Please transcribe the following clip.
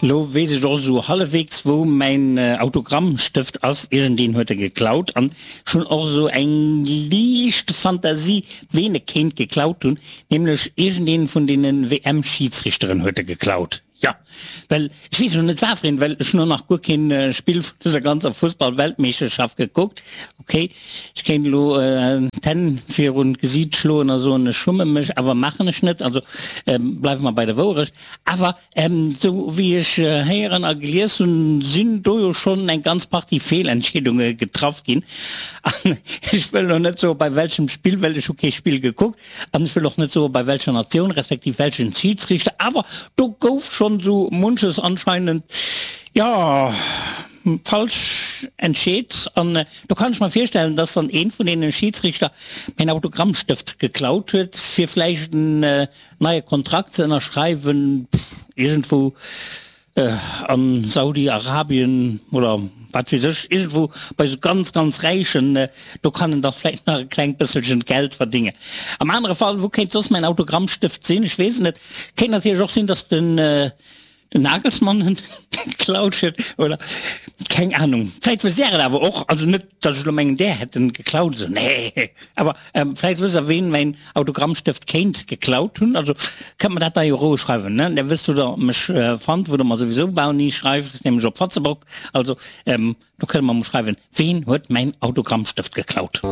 Lo weess ech och esou hallefwegs wou mäin Autogrammstëft ass, iergendeen huet e geklaut an ech hunn och esou eng liicht Fantasie ween e kéint geklaut hunn, nämlech iergendeen vun deene WM-Schiidsrichteren huet e geklaut. Jo, well ech weess elo net wafereen, well ech hunn och nach guer keen Spill vun dëser ganzer Fussball-Weltmeeschterschaft gekuckt. Ok, ech kéint elo d'Hänn virun d'Gesiit schloen a soen ech schumme mech, awer maachen ech net, also bleiwe mer bei der Wouerecht. Awer Esou wéi ech héieren a gelies hunn, sinn do jo schonn eng ganz Partie Feelentscheedunge getraff ginn. An ech wëll elo net soe bei welchem Spill, well ech hu kee Spill gekuckt, an ech wëll och net soe bei welcher Natioun, respektiv welchen Schidsrichter, awer do gouf schonn esou munches anscheinend, jo, falsch entscheet. An do kann ech mer virstellen, dass dann ee vun deene Schidsrichter mäin Autogrammstëft geklaut huet, fir vläicht en Neie Kontrakt ze ënnerschreiwen, iergendwou a Saudi-Arabien oder wat weess ech, iergendwou bei esou ganz, ganz Räichen, do kann en da vläicht nach e klengt bësselchen Geld verdéngen. Am anere Fall, wou kéint soss mäin Autogrammstëft sinn? Ech weess et net. Kéint natierlech och sinn, datt den Den Nagelsmann en geklaut huet oder keng Ahnung. Vläit wësst Där et awer och, also net datt ech elo mengen Där hätt en geklaut esou, nee, awer vläit wësst Der ween mäin Autogrammstëft kéint geklaut hunn. Also kënnt mer dat da jo roueg schreiwen, ne? Där wësst wou Der mech fannt, wou Der mer souwisou bal ni schreift, nämlech op Fatzebock. Also do kënnt Der mer mol schreiwen, ween huet mäin Autogrammstëft geklaut?